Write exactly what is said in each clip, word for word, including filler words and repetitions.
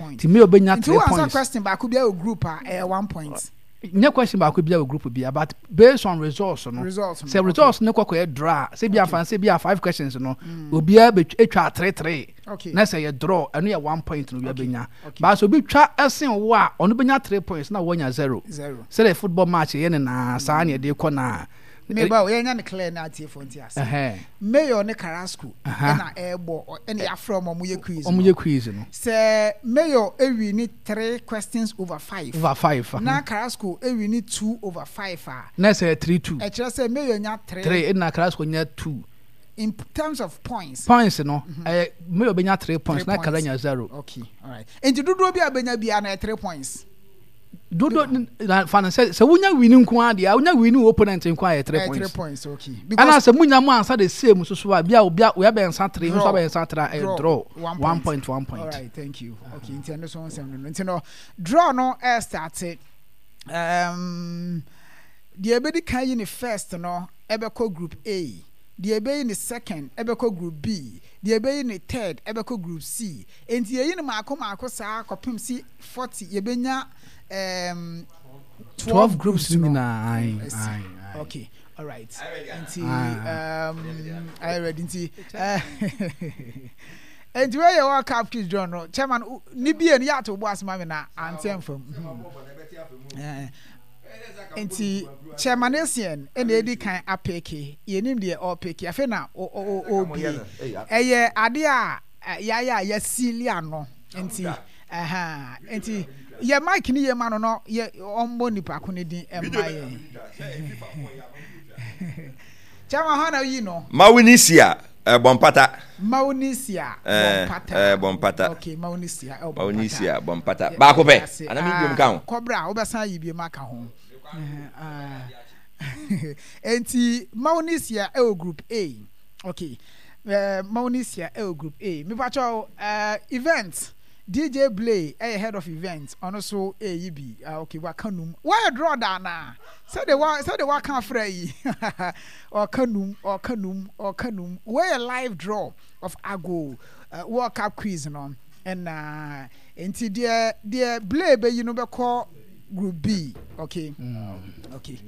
Point. Nti Mayor bɛnya Nti three wo answer points. Question baako bi wɔ group a, ɛyɛ one point. Nyɛ question baako bi wɔ group bi, but based on results no. Results no, sɛ results no kɔkɔ yɛ draw a, sɛ bi afa sɛ bi a five questions no, obiara bɛ etwa three three Okay. na sɛ yɛ draw, ɛno yɛ one point na obiara bɛnya. Okay. But sɛ obi twa ɛsen wo a, ɔno bɛnya three points na wɔnya zero. Zero. Sɛdeɛ football match yɛ ne naa saa ne yɛde kɔ naa. Meba o, yɛnya ne clear na atiefo nti ase. Ɛhɛn. Mayor ne Carrasco Aha. ɛna ɛɛbɔ, ɔ- ɛna yɛafrɛ ɔmo, ɔmo yɛ quiz ɔmo no. Yɛ quiz no. Sɛ Mayor ewi ni three questions over five over five, na Carrasco ewi ni two over five a, na sɛ three two. Ɛkyerɛ sɛ Mayor nya three. Three, ɛna Carrasco nya two. In terms of points. Points no, ɛyɛ Mayor bɛnya three points Three na Carrasco points. nya zero. Okay, alright. Nti dodoɔ bi a bɛnya biara na ɛyɛ three points. Dodo na fa no sɛ sɛ wonya win nko ara deɛ, wonya win wo opponent nko ara yɛ three Ɛyɛ three points. points, okay. Ɛna sɛ munya mu ansa the same so so a, bia obi a obi abɛnsa three nso Draw. Abɛnsa three a, ɛyɛ draw, one point, one point. Alright, thank you. Okay, nti ɛno so nsɛm no no nti no draw no ɛ start um, deɛ ɛbɛdi kan yi ne first no ɛbɛkɔ group A, deɛ ɛbɛyi ne second ɛbɛkɔ group B, deɛ ɛbɛyi ne third ɛbɛkɔ group C. Nti yɛyi no maako maako saa kɔpem si forty, yɛbɛnya um, twelve groups no nyinaa, aye. Asi. Aye, aye. Okay, alright, nti Ah. um, ayɛ ready. Nti eh, nti wei yɛ World Cup quiz draw no. Chairman wo- ne bie no yɛ ato bo ase ma me na ante mfam. Eh, nti Chairman Essien ɛna edi kan apick. Yɛnim deɛ ɔpick. Afei na ɔ- ɔ- ɔ- ɔbie ɛyɛ adeɛ a eh, yɛayɛ a yɛseal ano. Nti ɛha nti yɛ mic ni yɛ ma no no yɛ ɔmmɔ nipa ko ne din ɛmma yɛn. Chairman, hɔ na yi no. Mawunisia bɔmpata. Maunisia. Eh, Bɔmpata. eh, Bɔmpata. Okay, Maunisia ɛwɔ Bɔmpata. Mawunisia Bɔmpata baako pɛ Ase. ana mi Ah, biom ka ho. Kɔbra a wobɛsan yi biom aka ho. Ah. Enti Maunisia ɛwɔ group A. Okay, uh, Maunisia ɛwɔ group A. Mepakyɛw, uh, event D J Blay ɛyɛ head of event, ɔno so ɛyi bi. Ah, okay, waka num wɔyɛ draw da anaa sɛde wa sɛde waka afrɛ yi, ɔka num, ɔka num, ɔka num. Wɔyɛ live draw of Ago uh, World Cup quiz no. Ɛna nti deɛ deɛ Blay bɛyi no bɛkɔ group B. Okay okay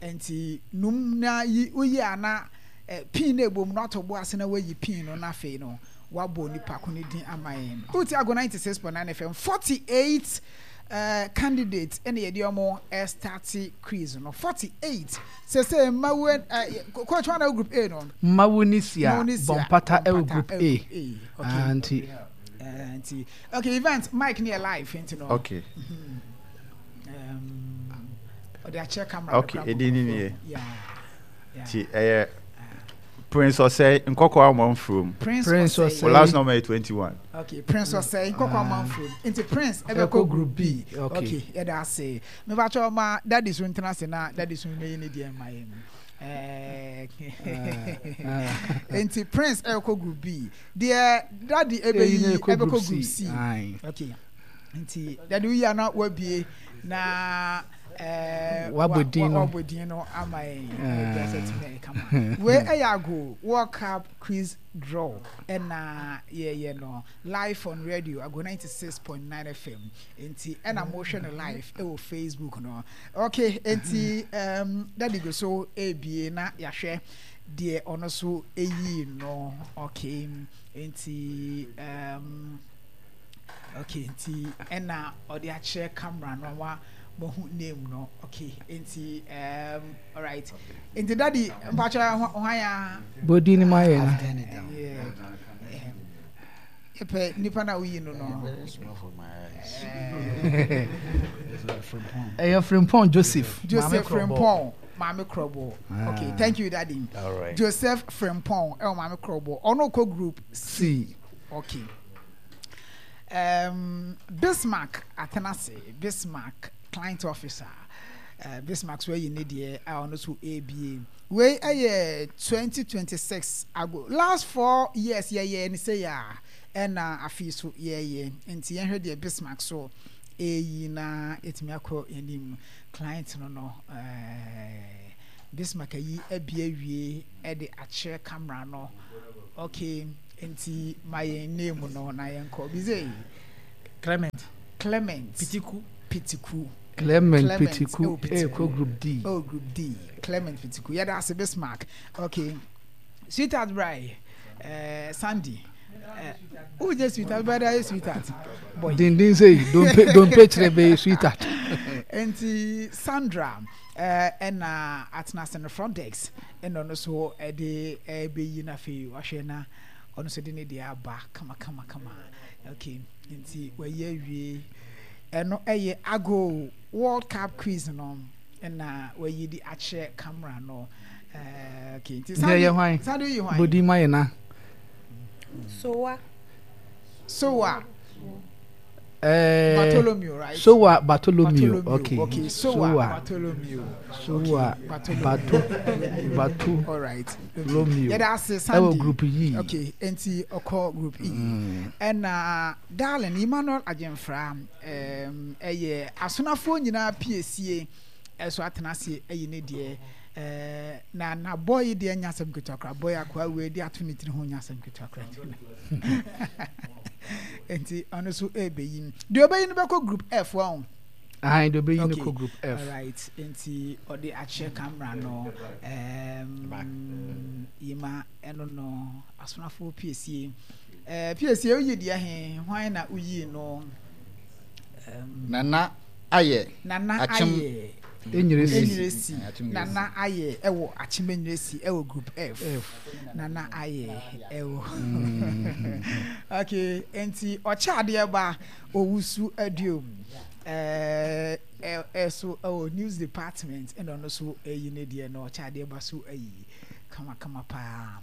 nti num na yi woyi ana eh, pin na ebom na ato bo ase na wayi pin no, na afei no wabɔ nipa ko ne din ama yɛn. Wotie Ago ninety-six point nine F M. forty-eight uh, candidate ɛna yɛde ɔmo ɛstart quiz no, forty-eight. Sese mmawo uh, coach one na group A no. Mawunisia Mawunisia Bɔmpata ɛwɔ group ɛwɔ A. Group A, okay. Ah, nti Uh, nti okay, event mic ne yɛ live nti no Okay. um, ɔde akyerɛ camera no Okay, koraa. Ɛdi ni nie. Yeah, yeah. Ti ɛyɛ Prince Ɔsɛe Nkɔkɔ Amanfurom. Prince, Prince Osei. Osei. O last number yɛ twenty one. Okay, Prince Osei Nkɔkɔ Amanfo. Nti Prince ɛbɛkɔ ɛbɛkɔ group B. Okay. Okay, yɛda ase. Mepakyɛ ɔma daddy so ntena ase na daddy so mɛyi ne deɛ mma yɛn. Ɛɛ, nti Prince ɛkɔ group B, deɛ daddy ɛyi na ɛbɛyi ɛkɔ ɛbɛkɔ group group C. C. Aye. Okay, nti daddy woyi ana wabie na ɛɛ Wabɔ din no. Wabɔ din no ama yɛn. Ah. Ɛɛ sɛ tumi ɛyɛ kama. Wei ɛyɛ Ago World Cup quiz draw ɛna yɛyɛ no live on radio Ago ninety-six point nine F M. Nti ɛna mohwɛ no live ɛwɔ Facebook no. Okay, nti um, daddy go so ebie na yɛahwɛ deɛ ɔno so eyi no. Okay, nti um, okay, nti ɛna ɔde akyerɛ camera no wa mohu name no. Okay, nti um, alright, nti daddy, mpakyɛ hwan ya? Bɔdin ni ma yɛ no. I've turned it down. Yeah. Yɛpɛ nipa na woyi no no. Very small for my eyes. Eh, Frimpong. Ɛyɛ Frimpong Joseph. Joseph Maame Krɔbɔ. Frimpong Maame Krɔbɔ. Okay, Ah. thank you, daddy. All right. Joseph Frimpong ɛwɔ Maame Krɔbɔ, ɔno kɔ group C. Okay, um, Bismarck Atenase, Bismarck client officer, uh, Bismarck so ayi ne deɛ a ɔno so aba. Wei ɛyɛ twenty twenty-six Ago. Last four years yɛyɛ ne sɛ yɛ a ɛna afei so yɛyɛ. Nti yɛhwɛ deɛ Bismarck so ɛyi na yɛtumi akɔ anim. Client no no ɛɛ Bismarck ayi abi awie ɛde akyerɛ camera no. Okay, nti ma yɛn name no na yɛnkɔ bize. Clement. Clement. Pitiku. Pitiku. Clement Clement, Pitiku ɛwɔ Pitiku. ɛkɔ group D. Oh, group D. Clement Pitiku. Yɛda ase, Bismarck. Okay. Sweetheart Brai. Uh, Sandy. Uh, who just sweetheart? Brother, is sweetheart. Boy. Dindin sɛ dompe dompe kyerɛ bɛyɛ sweetheart. Nti Sandra eh, ɛna atena ase no front desk, ɛna ɔno so ɛde ɛbɛyi no. Afei wahwɛ na ɔno nso de ne deɛ aba kama kama kama. Okay, nti wayi awie. Ɛno ɛyɛ Ago World Cup quiz no, ɛna wayi de akyerɛ camera no. ɛɛ okay, nti Deɛ yɛ hwan? Sandy, yi hwan? Bodi ma yɛ na. Sowa. Sowa. Ɛɛ Bartholomew, right? Sowa Bartholomew, okay. Okay, Sowa Bartholomew. Sowa Bartholomew. Bato Bato All right. Romeo. Yɛda ase, Sandy. Ɛwɔ group E. Okay, nti ɔkɔ group E. Mm. Ɛna darling Emmanuel Agyemfra um, ɛyɛ asonafoɔ nyinaa piesie ɛso atena ase ɛyi ne deɛ. ɛɛ na na boy yi deɛ nya asɛm ketewa koraa. Boy akoa wei de ato ne tiri ho nya asɛm ketewa koraa, nti ɔno nso ɛbɛyi. Deɛ ɔbɛyi no bɛkɔ group F wɔn. Ahan, deɛ ɔbɛyi no Okay. kɔ group F. Alright, nti ɔde akyerɛ camera no. um, yima ɛno no asonafoɔ piesie. ɛɛ piesie oyi deɛ he hwan na oyi no? um, Nana Ayɛ. Nana Akyem. Ayɛ. Enyiresi. Enyiresi. Akyem. Nana Ayɛ ɛwɔ Akyem Enyiresi, ɛwɔ group F. F. Nana Ayɛ ɛwɔ Mm. Okay, nti ɔkyɛ adeɛ ba Owusu Aduom ɛɛ ɛ ɛso ɛwɔ news department, ɛna ɔno nso ɛyi ne deɛ no. Ɔkyɛ adeɛ ba so ɛyi kamakama paa.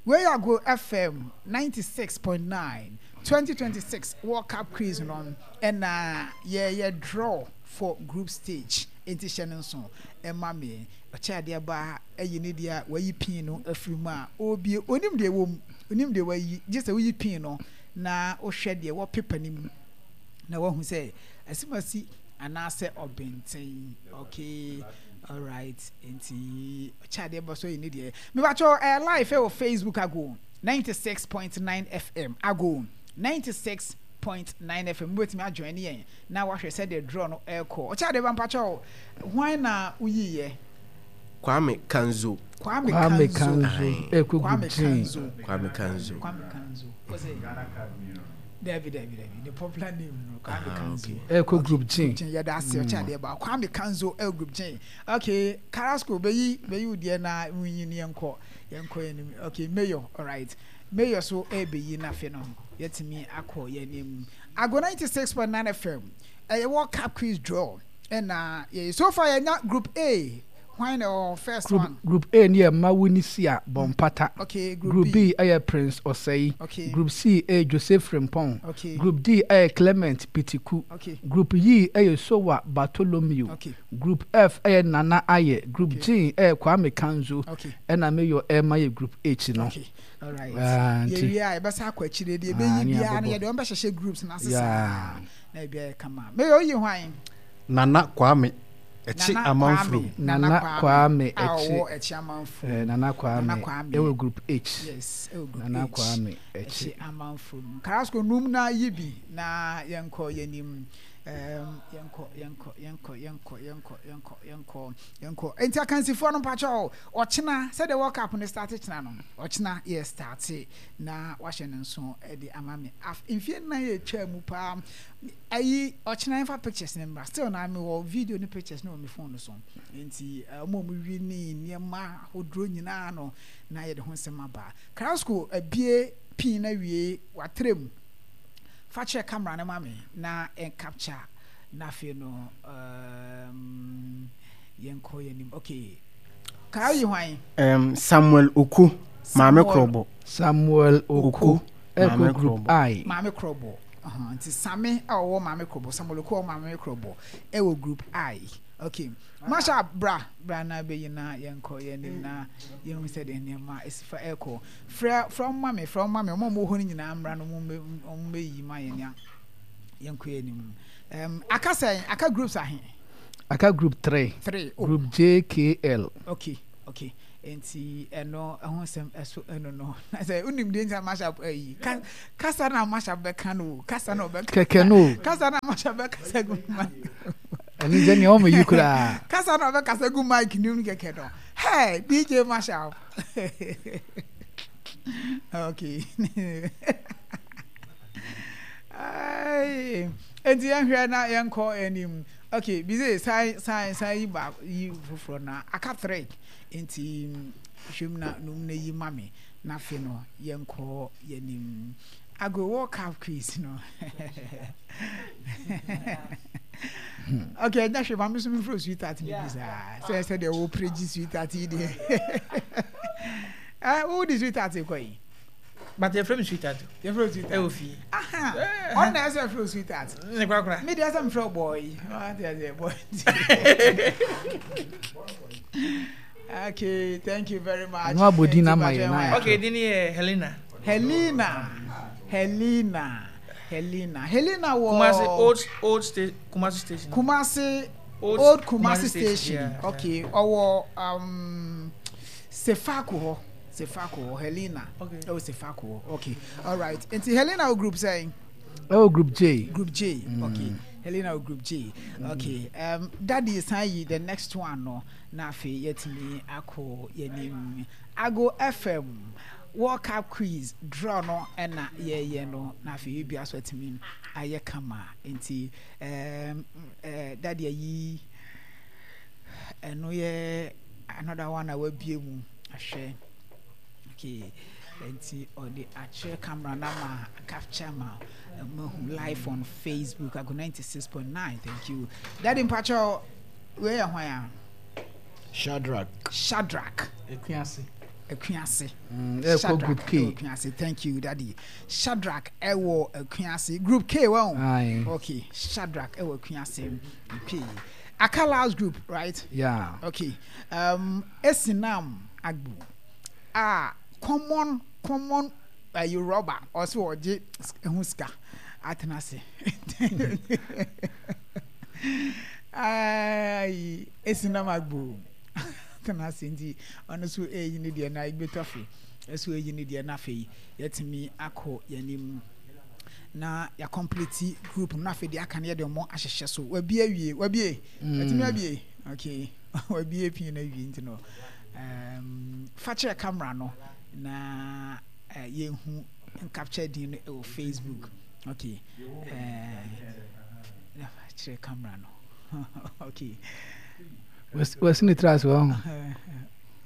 Wei Ago F M ninety six point nine, twenty twenty six World Cup quiz no, ɛna yɛyɛ draw for group stage, nti hyɛ no nso ɛma me. Ɔkyɛ adeɛ ba ɛyi ne deɛ a wayi pin no afiri mu a ɔrebie. Onim deɛ ɛwɔ mu, onim deɛ wayi, gye sɛ woyi pin no na wohwɛ deɛ wɔ paper no mu na wahu sɛ asimasi anaasɛ ɔbɛnten. Okay, alright, nti ɔkyɛ adeɛ ba so yi ne deɛ. Mebatwɛ ɛɛ live ɛwɔ Facebook, Ago ninety six point nine F M, Ago ninety six point nine F M. Wobɛtumi ajoin yɛn na wahwɛ sɛdeɛ draw no ɛrekɔ. Ɔkyɛ adeɛ ba, mpakyɛw, hwan na woyiiɛ? Kwame Kanzo. Kwame Kwame Kanzo. Kanzo ɛkɔ group Kwame G. Kanzo. Kwame Kanzo. Kwame Kanzo. What's it? Dabi, dabi, dabi, the popular name no, Kwame Ah, Kanzo. okay. Ɛkɔ group G. G. Yɛda ase, ɔkyɛ adeɛ ba Kwame Kanzo ɛwɔ group G. Okay, Carrasco, bɛyi bɛyi wo deɛ na wunyi ni yɛnkɔ yɛnkɔ yɛn nim. Okay, Mayor, alright, Mayor so ɛbɛyi n'afe no yɛtumi akɔ yɛn nim. Ago ninety six point nine F M, ɛyɛ World Cup quiz draw, ɛna yɛ so far yɛnya group A. Hwan na ɛwɔ first Group one? Group A ni yɛ Mawunisia Bɔmpata. Okay, group, Group B. B ɛyɛ Prince Osei. Okay. Group C ɛyɛ Joseph Frimpong. Okay. Group D ɛyɛ Clement Pitiku. Okay. Group E ɛyɛ Sowa Bartholomew. Okay. Group F ɛyɛ Nana Ayɛ. Group Okay. G ɛyɛ Kwame Kanzo. Okay. Ɛna Mayor ɛma yɛ group H no. Okay, alright. Ah, nti. Yɛwie a yɛbɛsa akɔ akyire deɛ Ah, ɛbɛyi ne biara no abobɔ. yɛde wɔn bɛhyehyɛ groups no ase Yeah. saa na ebi ayɛ kama. Mayor, oyi hwan? Nana Kwame Ɛkyi Nana Amanfrom. Kwame. Nana Kwame a Ɛkyi. ɔwɔ Ɛkyi Amanfrom. Eh, Nana Kwame Nana Kwame. ɛwɔ group H. Yes, ɛwɔ group Nana H. Kwame Ɛkyi Ɛkyi. Amanfrom. Carrasco num na yi bi na yɛnkɔ yɛnim. um, yɛnkɔ yɛnkɔ yɛnkɔ yɛnkɔ yɛnkɔ yɛnkɔ yɛnkɔ yɛnkɔ. Nti akansifoɔ no, mpakyɛw, ɔkyena sɛdeɛ World Cup no start kyena no, ɔkyena yɛ start na wahyɛ no nso ɛde ama me. Af mfie nnan yɛ atwa mu paa ayi. Ɔkyena yɛmfa pictures ne mmra. Still na mewɔ video ne pictures ne wɔ me phone no so, nti ɔmo a ɔmo wi ne nneɛma ahodoɔ nyinaa no na yɛde ho nsɛm aba. Carrasco abie pin na wie watrem fa kyerɛ camera no ma me na ɛn capture na afei no um, yɛnkɔ yɛnim. Okay, kaa yi hwan? Um, Samuel Oku, Maame Samuel- Krobo. Samuel Oku Oku, Maame ɛkɔ group Krobo. I. Maame Krɔbɔ. uh-huh. Nti Same a ɔwɔ Maame Krɔbɔ, Samuel Oku a ɔwɔ Maame Krɔbɔ ɛwɔ group I. Okay, Masha, bra bra na bɛyi na yɛnkɔ yɛnim na yɛhu sɛ deɛ nneɛma ɛsi fa ɛkɔ. Frɛ frɛ ɔmo ma me, frɛ ɔmo ma me. Ɔmo a ɔmo wɔ hɔ no nyinaa mmra no, ɔmo mbɛ ɔmo mbɛyi ma yɛn ya yɛnkɔ yɛnim. um, aka sɛn? Aka groups ahe? Aka group three. Three, oh. Group J K L. Okay. Okay, nti ɛno ɛho nsɛm ɛso ɛno no na sɛ wonim deɛ nti a mashup ayi kasa na mashup bɛka no kasa na ɔbɛka kɛkɛ no kasa na mashup bɛkasa gu mic ɛno sɛ nea ɔma yi koraa kasa na ɔbɛkasa gu mic nim kɛkɛ no. Hey, D J Mashup, okay. Nti yɛnhwɛ na yɛnkɔ anim. Okay, bize san san san yi ba yi foforɔ na aka three, nti hwɛm na num na yi ma me na afei no yɛnkɔ yɛnim ago World Cup quiz no. Okay, ɛnyɛ hwɛ, maame so mi furo sweetheart ni bi saa sɛ sɛ deɛ wɔ pere sweetheart yi deɛ ɛ wo di sweetheart kɔ yi. But yɛfrɛ me sweetheart. Yɛfrɛ sweetheart. Ɛwɔ fie. Ɔno na ɛsɛ frɛ sweetheart. Ne korakora. Mi deɛ ɛsɛ mfrɛ boy, ɔte aseɛ, boy. Okay, thank you very much. No abodi na ma yɛ na. Okay, din yɛ Helena. Helena, Helena, Helena, Helena wɔ Kumasi old old station, Kumasi station. Kumasi old, old Kumasi, Kumasi station, station. Yeah, okay, ɔwɔ um, Sefako hɔ, Sefako hɔ Helena. Okay. Ɛwɔ Sefako hɔ. Okay, alright, nti Helena wɔ group sɛn? Ɛwɔ group J. Group J mm. Okay, Helena wɔ group J. Okay, um, daddy san yi the next one no na afei yɛtumi akɔ yɛnim. Ago F M World Cup quiz draw no ɛna yɛyɛ no na afei ebi aso atumi ayɛ kama. Nti um, uh, daddy ayi ɛno yɛ another one a wabie mu ahwɛ. Okay, nti ɔde akyerɛ camera na ma capture ma mahu live on Facebook, Ago ninety-six point nine. Thank you, daddy. Mpakyɛw, wei yɛ hwan a? Shadrach. Shadrach. Ekuase. Akuase. Ɛkɔ group K. Akuase, thank you, daddy. Shadrach ɛwɔ Akuase, group K wɔn. Aye. Okay, Shadrach ɛwɔ Akuase, K. Aka last group, right? Yeah. Okay, um, Esinam Agbu a common common ɛyi uh, rubber ɔsɛ ɔgye ɛho sika atena ase. Ayi Esinam Agbu atena ase, nti ɔno nso ɛyi ne deɛ na Igbe Tɔfe ɛso ɛyi ne deɛ na afei yɛtumi akɔ yɛnim na yɛ complete group no. Afei deɛ aka no yɛde ɔmo ahyehyɛ so. Wabie awie, wabie, yɛtumi abie. Okay, wabie pii na awie, nti no um, fa kyerɛ camera no na uh, yɛnhu capture din no ɛwɔ Facebook. Okay, uh, kyerɛ camera no. Okay. Wasi ne tiri ase wɔ ho.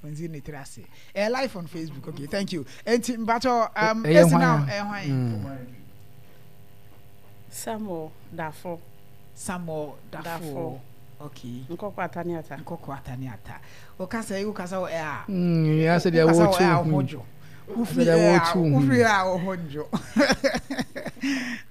Nzi ne tiri ase. Ɛyɛ live on Facebook. Okay, thank you. Enti mpatsɔ um, ɛyɛ esi hwan na a? Ɛyɛ hwan? Samuel Dafo. Samuel Dafo. Dafo. Okay. Nkɔkɔ Ataniata. Nkɔkɔ Ataniata. Wokasa yi, wokasa wɔ ɛ a Mm, ya sɛ deɛ wokasa wɔ wɔrekyi ɛ a wo wo ho ho. dwo wofiri Sɛ deɛ ɛ a wɔrekyi wo ho. Wofiri ɛ a wo ho ndwo.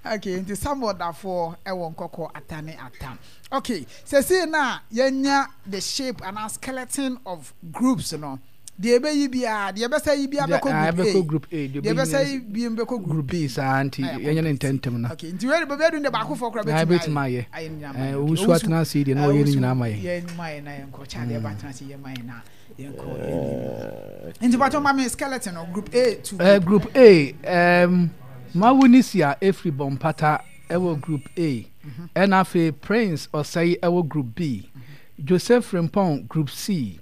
Okay, nti Samuel Dafoɔ ɛwɔ Nkɔkɔ Atane Ata. Okay, sɛsei na yɛnya the shape and skeleton of groups no. Deɛ ɛbɛyi biara, deɛ ɛbɛsɛ yi biara Deɛ- bɛkɔ ah, group ɛbɛkɔ A. group A, deɛ deɛ ɔbɛyi ɛbɛsɛ no yi bi bɛkɔ group group B saa, nti Na yɛ yɛnyɛ ne complete. ntɛntɛm na Okay, nti wei de baabi adu de baako fɔ koraa na bɛtumi bɛtumi ayɛ. ayɛ ne nyinaa Eh, ma yɛ. Okay, Owusu atena ase yi deɛ na eh, ɔyɛ ne Owusu nyinaa ma yɛ. yɛn ma yɛ na yɛnkɔ kyɛ adeɛ ba atena ase yɛ ma yɛ na yɛnkɔ yɛn. Nti patɔ ma mi skeleton no, group A to Eh, group A, um, Mawunisia efiri Bɔmpata ɛwɔ group A, ɛna afei Prince Ɔsɛe ɛwɔ group B, Joseph Frimpong group C,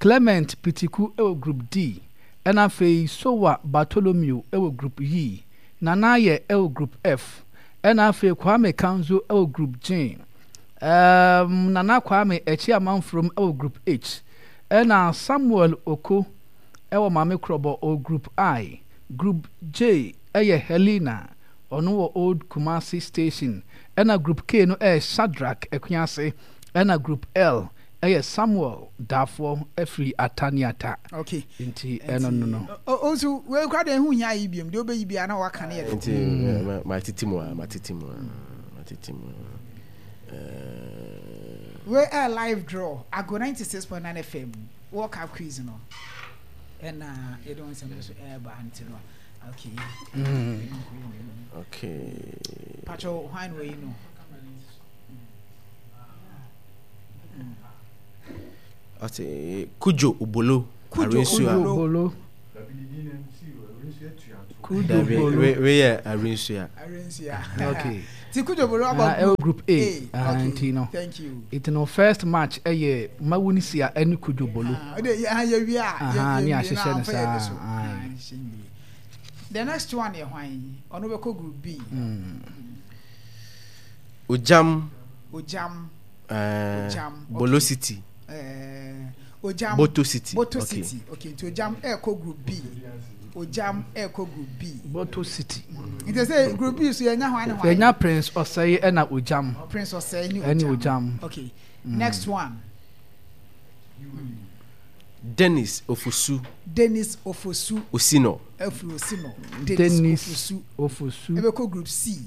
Clement Pitiku ɛwɔ group D, ɛna afei Sowa Bartholomew ɛwɔ group E, Nanayɛ ɛwɔ group F, ɛna afei Kwame Kanzo ɛwɔ group G, um, Nana Kwame Ɛkyi Amanforom ɛwɔ group H, ɛna Samuel Oko ɛwɔ Maame Korɔbɔ ɔ group I. Group J ɛyɛ Helena, ɔno wɔ Old Kumasi station, ɛna group K no ɛyɛ Shadrach Akuase, ɛna group L ɛyɛ Samuel Dafoɔ ɛfiri Ataniata. Okay. Nti ɛno no no. Owusu, wei kora deɛ ɛho hia yi biom deɛ wobɛyi bia na waka ne yɛ de. Nti eh, ma- matete mu a matete mu a matete mu a eh, Wei ɛ live draw, Ago ninety-six point nine F M World Cup quiz no ɛna yɛde wɔn nsɛm no so ɛɛba, nti no okay. Okay. Patro, hwan na wɔyi no? Ɔte Kujo Obolo. Kujo Arinsua. Obolo. Bolo. Kujo Dabi, Bolo. we we yɛ Arinsua. Arinsua. Okay. Ti Kujo Bolo Ah, aba ɛwɔ group A. Ah, Okay. nti no. Thank you. Nti no first match ɛyɛ Mawunisia ɛne Kujo Bolo. Ah, ɔde yɛ ah, yɛ wie a. Aha, yɛ- yɛ ne wie ahyehyɛ na no amfa yɛ saa, de so. aye. Ah, ahyehyɛ no yie. The next one yɛ hwan? Ɔno bɛkɔ group B. Ojam. Ojam. Uh, Ojam, Bolo okay. City. Eh, Ojam. Boto City. Boto okay. City. Okay, nti Ojam ɛkɔ group B. Ojam ɛkɔ group B. Boto City. Nti sɛ group B so yɛnya hwan ne hwan? Yɛnya Prince Ɔsɛe ɛna Ojam. Prince Ɔsɛe ne Ɛne Ojam. Ojam. Okay. Next one. Dennis Ofosu Dennis Ofosu Osino. afiri Osino. Dennis, Dennis Ofosu. Ofosu. Ɛbɛkɔ group C.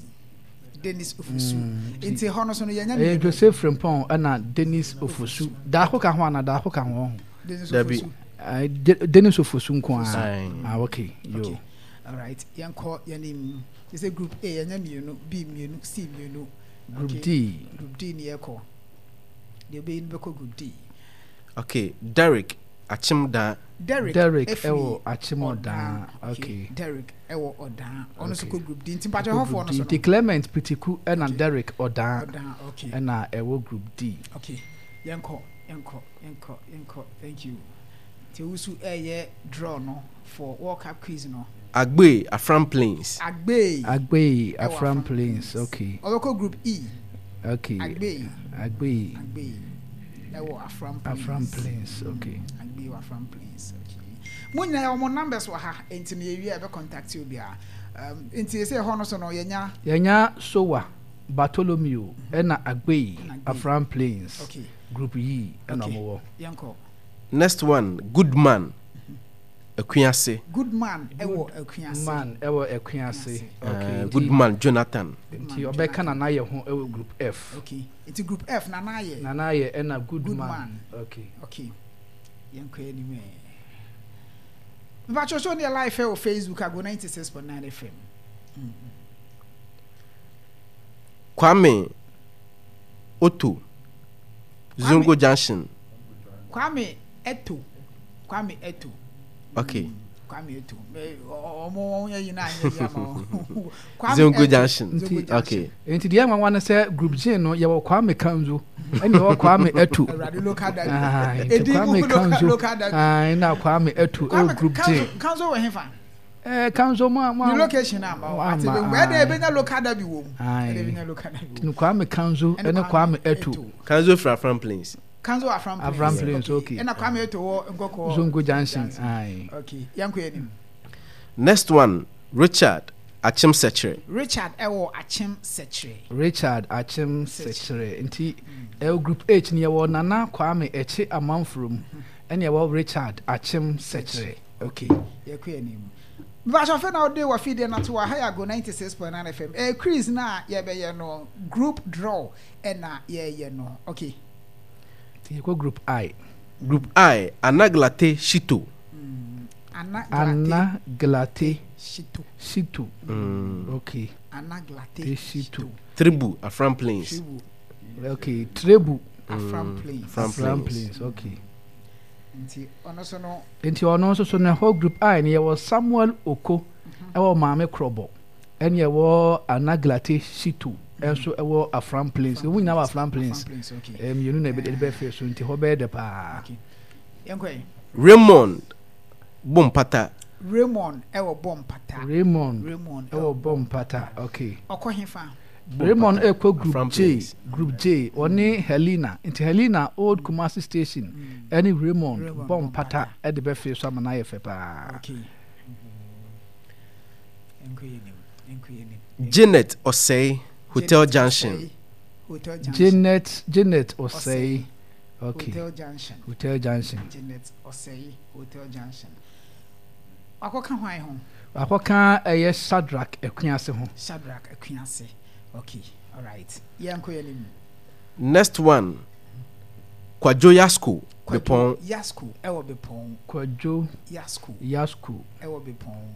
Dennis Ofosu. Nti hɔ no so no yɛnya Ɛyɛ mmienu. Joseph Frimpong ɛna Dennis Ofosu. Daako ka ho ana daako ka ho ho. Dennis Dabi. Ofosu. Ah, De- Dennis Ofosu nko ara. Aye. Ah, okay. Yo. Okay. All right. Yɛnkɔ yɛnim. Yɛ sɛ group A yɛnya mmienu, B mmienu, C mmienu. Group Okay. D. Group D ni yɛkɔ. Deɛ ɔbɛyi no bɛkɔ group D. Okay. Derek Achimda. Derek Derek ɛfiri ɛwɔ Akyem Odan. Okay. Derek ɛwɔ Ɔdan. Ɔno nso Okay. kɔ group D. Nti mpakyɛ hɔfoɔ no so no. Nti Clement Pitiku ɛna Okay. Derek Ɔdan Ɔdan. Okay. ɛna ɛwɔ group D. Okay. Yɛnkɔ yɛnkɔ yɛnkɔ yɛnkɔ. Thank you. Nti owusu ɛyɛ draw no for World Cup quiz no. Agbe Afram Plains. Agbe. Agbe Ɛwɔ Afram Afram Plains. Plains. Okay. Ɔbɛkɔ group E. Okay. Agbe. Agbe Agbe. Ɛwɔ Afram Plains. Afram Plains. Okay. Agbe wɔ Afram Plains. Okay. Mo nyinaa wɔn numbers wɔ ha nti no yɛwie a yɛbɛ contact obiara. Um, nti sɛ ɛhɔ no so no yɛnya Yɛnya Sowa Bartholomew ɛna Agbe Agbe. Afram Plains. okay Group E ɛna Okay. ɔmo wɔ. yɛnkɔ. Next one, Goodman. Akuase. Goodman ɛwɔ Akuase. Man ɛwɔ Akuase. Okay. Uh, nti- Goodman Jonathan. Nti ɔbɛka Nana yɛ ho ɛwɔ group F. Okay. Nti group F Nana yɛ. Nana yɛ ɛna Goodman. Goodman. Okay. Okay. Yɛnkɔ anim ɛ. Mpakyɛ show ne yɛ live ɛwɔ Facebook Ago ninety six point nine F M. Kwame Otto. Zongo Junction. Kwame Eto. Kwame Eto. Okay. Kwame Eto. Ɛ, ɔ- Ɔmo wɔn yɛ yi na anyɛ yi ama wɔn. Kwame Zongo Eto. Junction. Zongo Junction. Okay. Nti deɛ nwanwa ne sɛ group G no yɛwɔ Kwame Kanzo ɛne yɛwɔ Kwame Eto. Awurade local derby. Ah, nti Edi mu Kwame local Kanzo local derby. ah, na Kwame Eto ɛwɔ Kwame group G. Kanzo Kanzo wɔ hefa? Eh, Kanzo mu a mu a. Ni location ama o. Ati Ama, bɛ ɛdɛ aye. ebenya local derby wɔ mu. Aye. Ɛdɛ ebenya local derby wɔ mu. Nti Kwame Kanzo ɛne Kwame Eto. Kanzo fra Afram Plains. Kanzo Afram Plains. Afram Plains, okay. Ɛna Kwame Eto wɔ Nkɔkɔ. Zongo Junction. Aye. Okay. Yɛnkɔ anim. Next one, Richard Achim Sekyere. Richard ɛwɔ Akyem Sɛkyerɛ. Richard Akyem Sekyere nti ɛwɔ group H ni yɛwɔ Nana Kwame Ɛkye Amanforom ɛne yɛwɔ Richard Akyem Sekyere. Okay. Yɛkɔ anim. Mbàtɔ na ɔde wɔ fidie na to wɔ ha yɛ Ago ninety six point nine F M. Ɛɛ quiz na yɛbɛyɛ no group draw ɛna yɛyɛ no. Okay. Nti yɛkɔ group I. Group I, Anaglate Shito. Ana Glate Anna Glate Shito. Shito. Mm. Okay. Ana Glate Te Shito. Tribu Afram Plains. Tribu Okay. Trebu Afram Plains. Afram Afram Plains. Plains. Okay. Nti ɔno so no Nti ɔno nso so no ɛhɔ group I ni yɛwɔ Samuel Oko ɛwɔ Maame Krɔbɔ ɛne yɛwɔ Anaglate Shito ɛnso ɛwɔ Afram Plains. Ewu nyinaa wɔ Afram Plains. Afram Plains okay. Ɛɛ mmienu na ɛbɛ ɛbɛ fɛ so nti hɔ bɛyɛ dɛ paa. Okay. Yɛnkɔ yi. Raymond Bompata. Raymond ɛwɔ Bɔmpata. Raymond Raymond ɛwɔ Bɔmpata. Okay. Ɔkɔ hefa. Raymond ɛkɔ group Afram J Plains. Group J ɔne Helena nti Helena Old Kumasi Station ɛne Raymond Raymond Bɔmpata ɛde bɛfɛ so ama n'ayɛ fɛ paa. Okay. Yɛnkɔ yɛ nim. Yɛnkɔ yɛ nim. Janet Osei Hotel Janet Junction. Osei, Hotel Junction. Janet Janet Osei. Okay. Hotel Junction. Hotel Junction. Janet Osei Hotel Junction. Akɔka hwan ho? Akɔka ɛyɛ Shadrach Akuase ho. Shadrach Akuase. Okay. All right. Yɛnkɔ yɛ nim. Next one, Kwadwo Yasko Bepɔn. Yasko ɛwɔ Bepɔn. Kwadwo Yasko Yasko. ɛwɔ Bepɔn.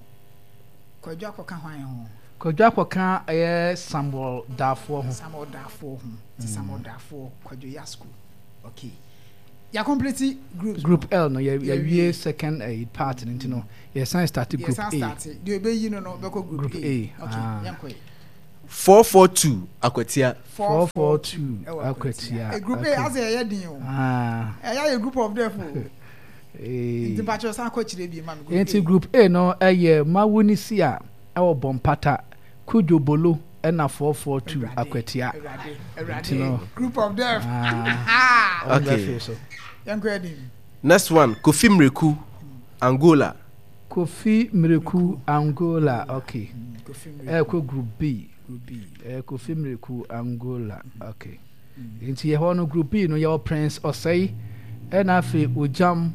Kwadwo akɔka hwan ho? Kwadwo akɔka ɛyɛ Samuel Dafoɔ ho. Samuel Dafoɔ ho. Ti Samuel Dafoɔ Kwadwo Yasko. Okay. Yɛ complete groups. Group L no yɛ yɛwie second uh, part no, nti no yɛsan start group yɛsan A. Start deɛ ɛbɛyi no no bɛkɔ group Group A. A, Okay, ah. yɛnkɔ yi. Four four two Akwatia. Four four two Akwatia. Eh, group okay. A asɛ ɛyɛ den o. Ah. Ɛyɛ ayɛ group of death o. Eh. Nti mpakyɛ san kɔ kyerɛ bi ma me group Nti A. group A no ɛyɛ Mawunisia ɛwɔ Bɔmpata, Kujo Bolo ɛna four four two Akwatia. Awurade, Nti no Awurade, group of death. Ah. Ɔmo Okay. bɛfiri so. Yɛnkɔ anim. Next one, Kofi Mreku, Angola. Kofi Mreku, Angola, okay. Kofi Mreku. Ɛkɔ group B. Group B. Eh, Kofi Mreku, Angola, okay. Nti yɛhɔ no group B no yɛwɔ Prince Ɔsɛe ɛna afei Ojam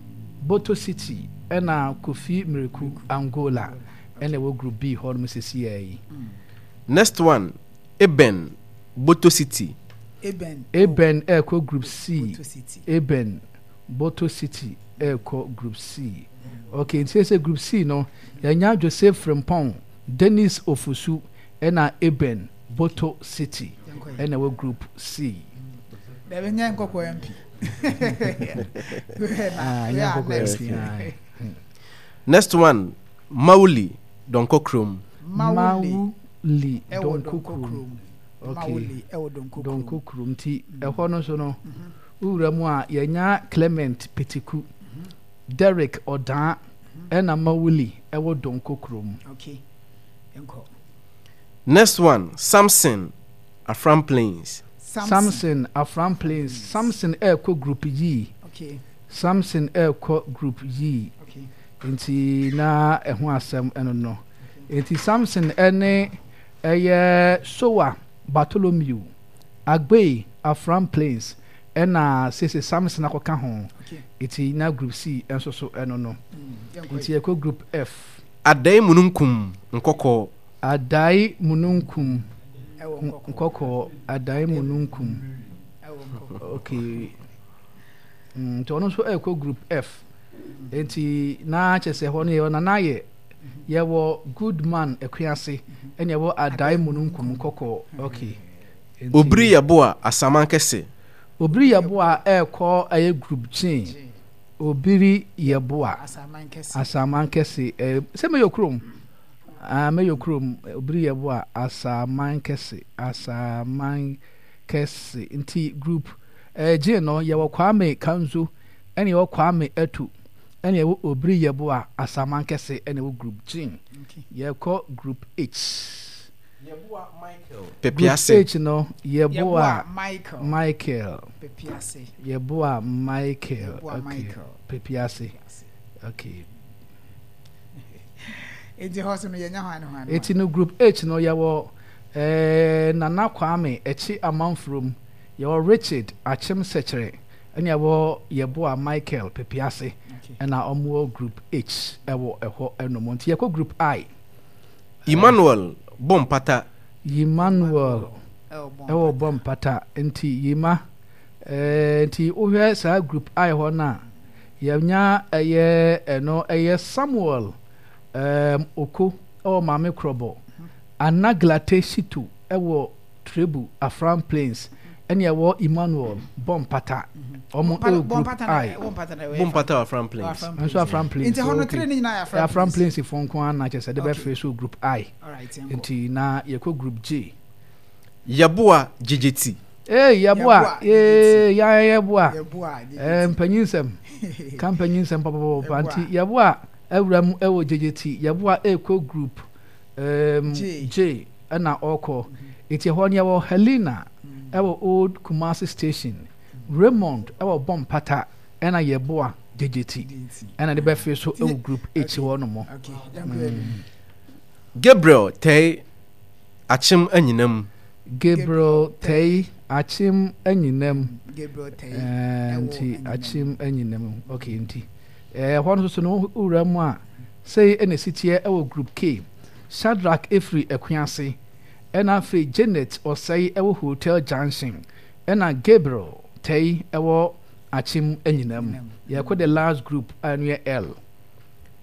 Boto City ɛna Kofi Mreku, Angola, ɛna ɛwɔ group B hɔ nom sisi yɛ yi. Next one, Eben, Boto City. Eben. Eben ɛkɔ group C. Boto City. Eben Boto City ɛkɔ group C. Okay, nti sɛ group C no yɛnya Joseph Frimpong, Dennis Ofusu ɛna Eben Boto City ɛna ɛwɔ group C. Dabi, nyɛ nkɔkɔ M P. Ah, nyɛ Yeah, nkɔkɔ next. M P, aye. Next one, Mauli, Donko Krom. Mauli Mauli ɛwɔ Donko Donko Krom. Krom. Okay. Mauli ɛwɔ Donko Krom. Donko Krom nti ɛhɔ no nso no wowura mu a yɛnya Clement Petiku, Derek Ɔdaa ɛna Mawuli ɛwɔ Donko Krom. Okay. Yɛnkɔ. Next one, Samson, Afram Plains. Samson Afram Plains. Samson ɛrekɔ group G. Okay. Samson ɛrekɔ group G. Okay. Nti na ɛho asɛm ɛno no. Nti Samson ɛne ɛyɛ Sowa Bartholomew, Agbe Afram Plains ɛna sese Samson akɔka ho. Okay. Nti na group C nso so ɛno no. Mm, yɛnkɔ Nti yi. yɛkɔ group F. Adai Mununkum, Nkɔkɔ. Adai Mununkum Ɛwɔ Nkɔkɔ. Nkɔkɔ. Adai Mununkum. Ɛwɔ Nkɔkɔ. Okay. Mm, nti ɔno nso ɛkɔ group F. Nti na kyerɛ sɛ hɔ no yɛwɔ Nana yɛ yɛwɔ Goodman Akuase ɛna yɛwɔ Adai Mununkum Nkɔkɔ. Okay. Nti- Obiri Yeboah, Asaman Kɛse. Obiri Yeboah ɛkɔ ɛyɛ group G. Obiri Yeboah. Asaman Kɛse. Asaman Kɛse. Ɛɛ sɛ meyɛ kurom. Ah, meyɛ kurom. Obiri Yeboah Asaman Kɛse. Asaman Kɛse. Nti group ɛɛ G no yɛwɔ Kwame Kanzo ɛna yɛwɔ Kwame Etu ɛna yɛwɔ Obiri Yeboah Asaman Kɛse ɛna yɛwɔ group G. Okay. Yɛkɔ group H. Yeboah Michael. Group Pepiase. H no Yeboah Yeboah Michael. Michael. Pepiase. Yeboah Michael. Yeboah Okay. Michael. Pepiase. Okay. Nti hɔ so no yɛnya hwan ne hwan ne Eti no group H no yɛwɔ ɛɛ Nana Kwame Ekyi Amanfurom, yɛwɔ Richard Akyem Sɛkyerɛ ɛna yɛwɔ Yeboah Michael Pepiase Okay. ɛna ɔmo wɔ group H ɛwɔ ɛhɔ ɛnom. Nti yɛkɔ group I. Emmanuel Bompata. Emmanuel Ɛwɔ Bɔmpata. ɛwɔ Bɔmpata. Nti Yima ɛɛ nti wohwɛ saa group I hɔ no a yɛnya ɛyɛ ɛno ɛyɛ Samuel ɛɛm Oko ɛwɔ Maame Krɔbɔ, Anaglate Shito ɛwɔ Trebu Afram Plains ɛne ɛwɔ Emmanuel Bɔmpata. Ɔmo Bɔmpata- ɛwɔ group Bɔmpata na- I. Bɔmpata na ɛwɔ Bompata Afram Plains. Afram Nso Afram Plains. Nti hɔ no okay. three ne nyinaa yɛ Afram Afram Plains fo nko ara na kyerɛ sɛ de Okay. bɛfrɛ so group I. Alright, yɛnkɔ. Nti na yɛkɔ group J. Yeboah Jejeti. Ee Yeboah, Yeboah, ee ya Yeboah. Yeboah Ɛɛ mpanyin ka mpanyin nsɛm papapapa. Yeboah. Nti Yeboah awura mu ɛwɔ J J T. Yeboah ɛkɔ group um, J. J ɛna ɔkɔ. Nti ɛhɔ no yɛwɔ Helena ɛwɔ Old Kumasi Station, Raymond ɛwɔ Bɔmpata ɛna Yeboah J J T ɛna de bɛfiri so ɛwɔ group H hɔ nom. Okay, yɛnkɔ anim. Gabriel Tei, Akyem Anyinam. Gabriel Tei Akyem Anyinam. Gabriel Tei Ɛɛ, ɛwɔ nti Anyinam. Akyem Anyinam, okay. Nti ɛɛ hɔ no nso so no wura mu a sei ɛna esi teɛ ɛwɔ group K. Shadrach efiri Akuase ɛna afei Janet Ɔsɛe ɛwɔ Hotel Junction ɛna Gabriel Tei ɛwɔ Akyem Anyinam. Yɛkɔ the last group a ɛno yɛ L.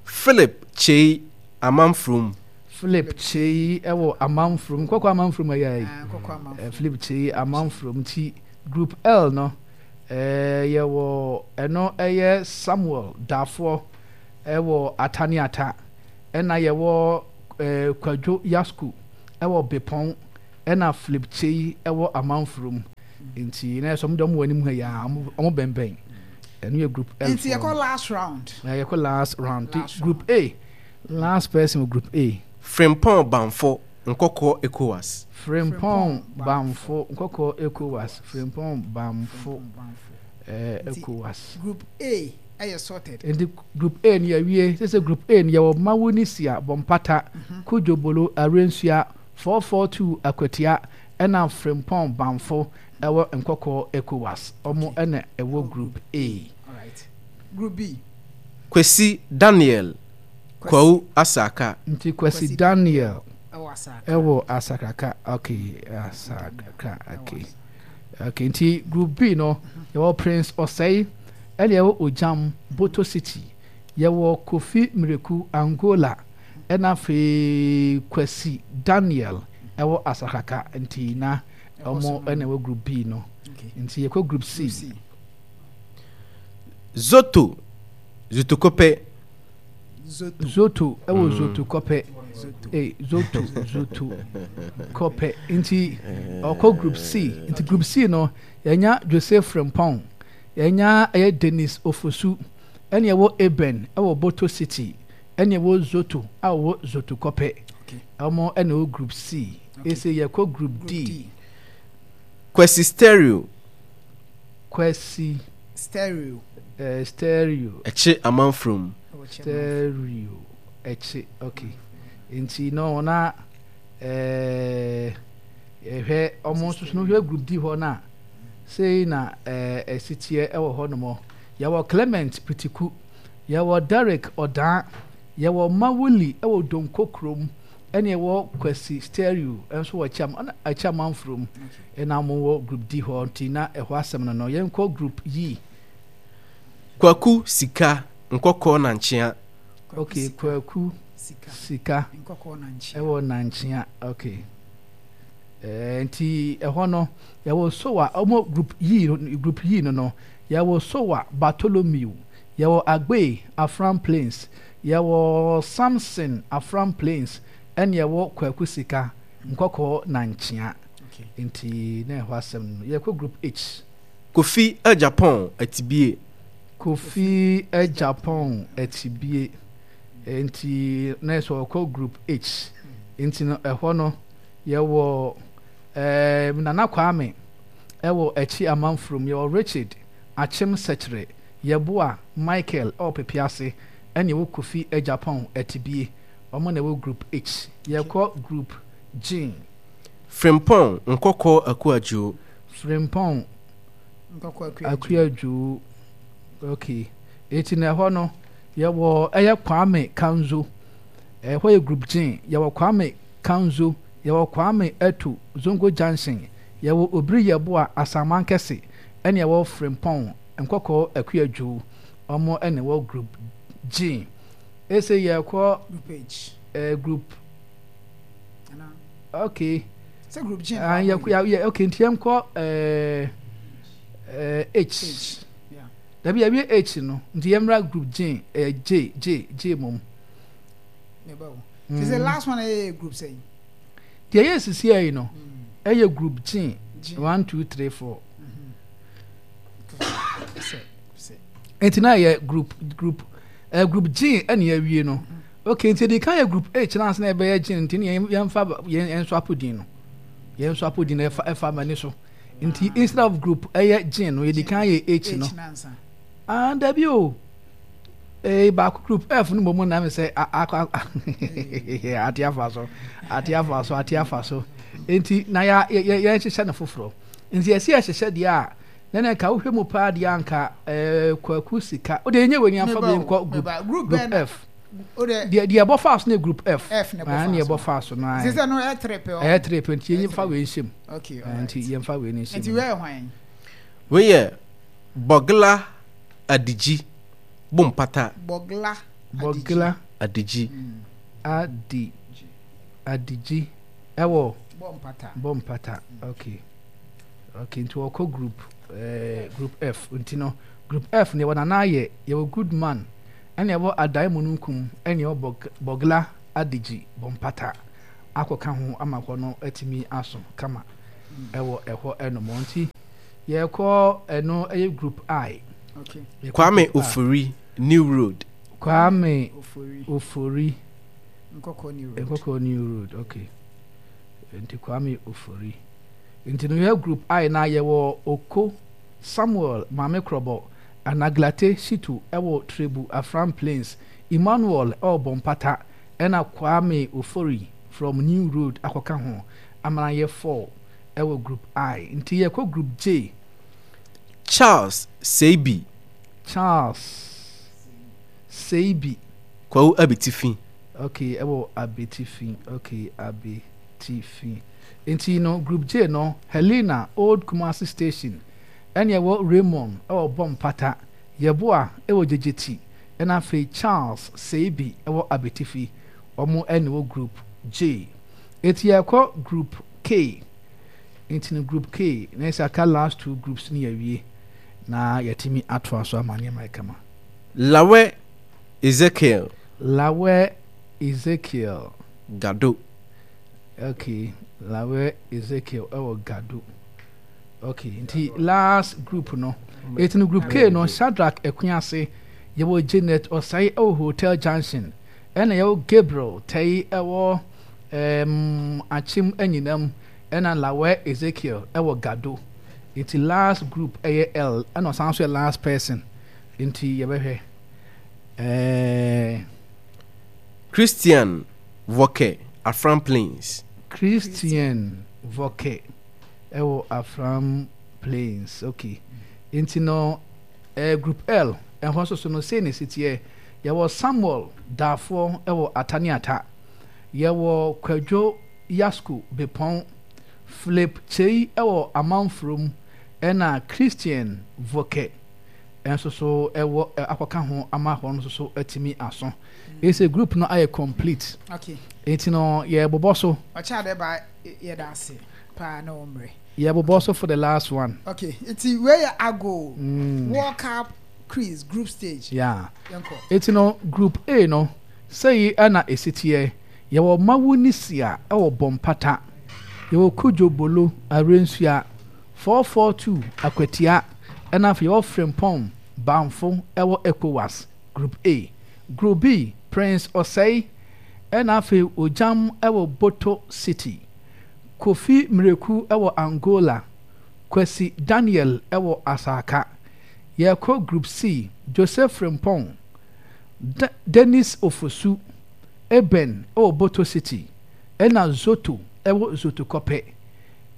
Philip Chei, Amanfrom. Philip Kyei ɛwɔ Amanfurom, Nkɔkɔ Amanfurom ɛyɛ yi. Ah, Nkɔkɔ Amanfurom. Philip Kyei Amanfurom. Nti group L no Ɛɛ yɛwɔ ɛno ɛyɛ Samuel Dafoɔ ɛwɔ Ataniata, ɛna yɛwɔ ɛɛ Kwadwo Yasku ɛwɔ Bepɔn, ɛna Philip Kyei ɛwɔ Amanfurom. Nti na yɛ sɛ ɔmo de ɔmo wɔ anim ha yi a, ɔmo ɔmo bɛnbɛn. Ɛno yɛ group L. Nti yɛkɔ last round. Na yɛkɔ last round. Nti group A, last person wɔ group A. Frimpong Bamfo, Nkɔkɔɔ ECOWAS. Frimpong Bamfo, Nkɔkɔɔ ECOWAS. Frimpong Bamfo, ɛɛ ECOWAS. Group A ɛyɛ sorted. Nti group A no yɛawie. Sɛ sɛ group A no yɛwɔ Mawunisia, Bɔmpata, Kujobolo, Arensua, four four two Akwatia, ɛna Frimpong Bamfo ɛwɔ Nkɔkɔɔ ECOWAS. Ɔmo ɛna ɛwɔ group A. Alright. Group B. Kwesi Daniel Kwawu Asaka. Nti Kwesi Daniel ɛwɔ Asakraka. Okay, Asakraka. Okay. Okay, nti group B no yɛwɔ Prince Osei, ɛna yɛwɔ Ojam Boto City, yɛwɔ Kofi Mireku Angola, ɛna afei Kwesi Daniel ɛwɔ Asakraka. Nti na ɔmo ɛna ɛwɔ group B no. Nti yɛkɔ group C. Zoto Zotokope. Zoto ɛwɔ Zoto Kɔpɛ. Eh, Zoto Zoto Kɔpɛ. Nti ɔkɔ group C. Nti group C no yɛnya Joseph Frimpong, yɛnya ɛyɛ Dennis Ofosu, ɛna ɛwɔ Eben ɛwɔ Boto City, ɛna ɛwɔ Zoto a ɔwɔ Zoto Kɔpɛ. Ɔmo ɛna ɛwɔ group C. Ese yɛkɔ group D. Kwesi Stereo. Kwesi Stereo. Eh, stereo. Ɛkye Amanfrom. Stereo. Ɛkye, okay. Nti no na eh yɛhwɛ ɔmo nso so no hwɛ group D hɔ na sei na eh ɛsi teɛ ɛwɔ hɔ nom. Yɛwɔ Clement Pitiku, yɛwɔ Derek Ɔdaa, yɛwɔ Mawuli ɛwɔ Donko kurom, ɛne ɛwɔ Kwesi Stereo nso wɔ Ɛkyɛ Ɛkyɛ Amanfrom. Ɛna ɔmo wɔ group D hɔ, nti na ɛhɔ asɛm no no. Yɛnkɔ group E. Kwaku Sika, Nkɔkɔɔ Nankyea. Okay, Kwaku Sika ɛwɔ Nankyea. Okay. Eh, nti ɛhɔ no yɛwɔ Sowa, ɔmo group E, group E no no yɛwɔ Sowa Bartholomew, yɛwɔ Agbe Afram Plains, yɛwɔ Samson Afram Plains, ɛne yɛwɔ Kwaku Sika Nkɔkɔɔ Nankyea. Nti na ɛhɔ asɛm no. Yɛkɔ group H. Kofi Agyapong Atibie. Kofi Agyapong Atibie. Nti na ɛsɛ ɔkɔ group H. Nti no ɛhɔ no yɛwɔ eh, Nana Kwame ɛwɔ Akyi Amanfurom, yɛwɔ Richard Akyem Sɛkyerɛ, Yɛboa Michael ɛwɔ Pepease, ɛne ɛwɔ Kofi Agyapong Atibie. Ɔmo na ɛwɔ group H. Yɛkɔ group G. Frimpong Nkɔkɔɔ Akuadwo. Frimpong Akuadwo. Okay. Eti na ɛhɔ no yɛwɔ ɛyɛ Kwame Kanzo. Ɛhɔ yɛ group G. Yɛwɔ Kwame Kanzo, yɛwɔ Kwame Etu Zongo Junction, yɛwɔ Obiri Yɛboa Asaman Kɛse, ɛne yɛwɔ Frimpong Nkɔkɔɔ Akuadwo. Ɔmo ɛna ɛwɔ group G. Ese yɛkɔ group H. Eh, group okay. Sɛ group G. Ah, yɛ yɛ okay, nti yɛnkɔ eh, eh, H. H. Yeah. Dabi yɛwie H no, nti yɛmmra group G, eh, J, J, J mom. Meba o. Mm. Sɛ last one ɛyɛ group sɛn? Deɛ ɛyɛ sisi yi no, ɛyɛ group G. G. One, two, three, four. Nti na yɛ group group eh, group G ɛna yɛawie no. Okay, nti ɛdi kan yɛ group H na ansa na ɛbɛyɛ G, nti ne yɛmfa yɛn nso apo din no. Yɛn nso apo din no ɛfa ɛfa m'ani so. Nti instead of group ɛyɛ G no, yɛdi kan yɛ H no. Ah, dabi o. Eh, baako group F no mmom na me sɛ akɔ ate afa so, ate afa so, ate afa so. Nti na yɛ yɛ yɛnhyehyɛ no foforɔ. Nti yɛsi yɛhyehyɛ deɛ a, na na nka wohwɛ mu paa deɛ anka eh, Kwaku Sika. O deɛ yɛnyɛ wei ni amfa bi nkɔ group group F. Deɛ deɛ ɛbɔ fa so no yɛ group F. F na ɛbɔ fa so. Ɛbɔ fa so no. Sisɛ no ɛyɛ three pɛ. Ɛyɛ three pɛ nti yɛn fa wei nhyɛ mu. Okay, alright. Nti yɛn fa wei nhyɛ mu. Nti wei yɛ hwan? Wei yɛ Bɔgla Adigi Bompata. Bɔgla Bɔgla Adigi. Adi Adigi ɛwɔ Bompata. Bompata. Okay. Okay, nti wɔkɔ group eh, Group F. Nti no, Group F no yɛwɔ Nana Ayɛ, yɛwɔ Goodman, ɛna yɛwɔ Adae Mununkum, ɛna yɛwɔ Bog Bogla Adegyi Bompata akɔka ho ama hɔ no atumi aso kama ɛwɔ ɛhɔ ɛnom. Nti yɛkɔ ɛno ɛyɛ Group I. Okay. Yɛkɔ Kwame Group I. Ofori, New Road. Kwame Ofori. Ofori. Nkɔkɔ New Road. Nkɔkɔ New Road, okay. Nti Kwame Ofori. Nti no yɛ Group I na yɛwɔ Oko Samuel Maame Krɔbɔ, Anaglate Shitu ɛwɔ Trebu Afram Plains, Emmanuel ɛwɔ Bompata, ɛna Kwame Ofori from New Road akɔka ho ama no ayɛ four ɛwɔ Group I. Nti yɛkɔ Group J. Charles Seibi. Charles Seibi. Kwawu Abetifi. Okay, ɛwɔ Abetifi. Okay, Abetifi. Nti no Group J no, Helena, Old Kumasi Station, ɛne ɛwɔ Raymond ɛwɔ Bompata, Yeboah ɛwɔ Gyegyeti, ɛna afei Charles Seibi ɛwɔ Abetifi. Wɔn ɛna ɛwɔ Group J. Eti yɛkɔ Group K. Nti no Group K, na ɛsɛ aka last two groups no yɛawie na yɛatumi atoa so ama nneɛma ayɛ kama. Lawɛ Ezekiel. Lawɛ Ezekiel. Gado. Okay, Lawɛ Ezekiel ɛwɔ Gado. Okay, nti last group no. Eti no Group K no, Shadrach Akuase, yɛwɔ Janet Osei ɛwɔ Hotel Junction, ɛna yɛwɔ Gabriel Tɛyi ɛwɔ um, Akyem Anyinam, ɛna Lawɛ Ezekiel ɛwɔ Gado. Nti last group ɛyɛ L, ɛna ɔsan so yɛ last person. Nti yɛbɛhwɛ. Eh, Christian Voke, Afram Plains. Christian Voke ɛwɔ Afram Plains. Okay. Nti no eh, Group L ɛhɔ nso so no sei na ɛsi teɛ. Yɛwɔ Samuel Daafoɔ ɛwɔ Ataniata. Yɛwɔ Kwadwo Yasko Bepɔn. Philip Kyei ɛwɔ Amanfurom ɛna Christian Voke nso so ɛwɔ akɔka ho ama hɔ nso so atumi aso. Ɛsɛ group no ayɛ complete. Okay. Nti no yɛbobɔ so. Ɔkyɛ ade ba yɛda ase paa na wɔn mmerɛ. Yɛbobɔ so for the last one. Okay, nti wei yɛ ago mm. World Cup quiz group stage. Yeah. Yɛnkɔ. Nti no Group A no sɛyi ɛna esi teɛ. Yɛwɔ Mawunisia ɛwɔ Bompata. Yɛwɔ Kudjo Bolo Arensua four four two Akwatia ɛna afei yɛwɔ Frimpong Banfo ɛwɔ ECOWAS Group A. Group B, Prince Osei ɛna afei Ogyam ɛwɔ Boto City. Kofi Mireku ɛwɔ Angola. Kwasi Daniel ɛwɔ Asaka. Yɛkɔ Group C, Joseph Frimpong, D Dennis Ofosu, Eben ɛwɔ Boto City ɛna Zoto ɛwɔ Zoto Kɔpɛ.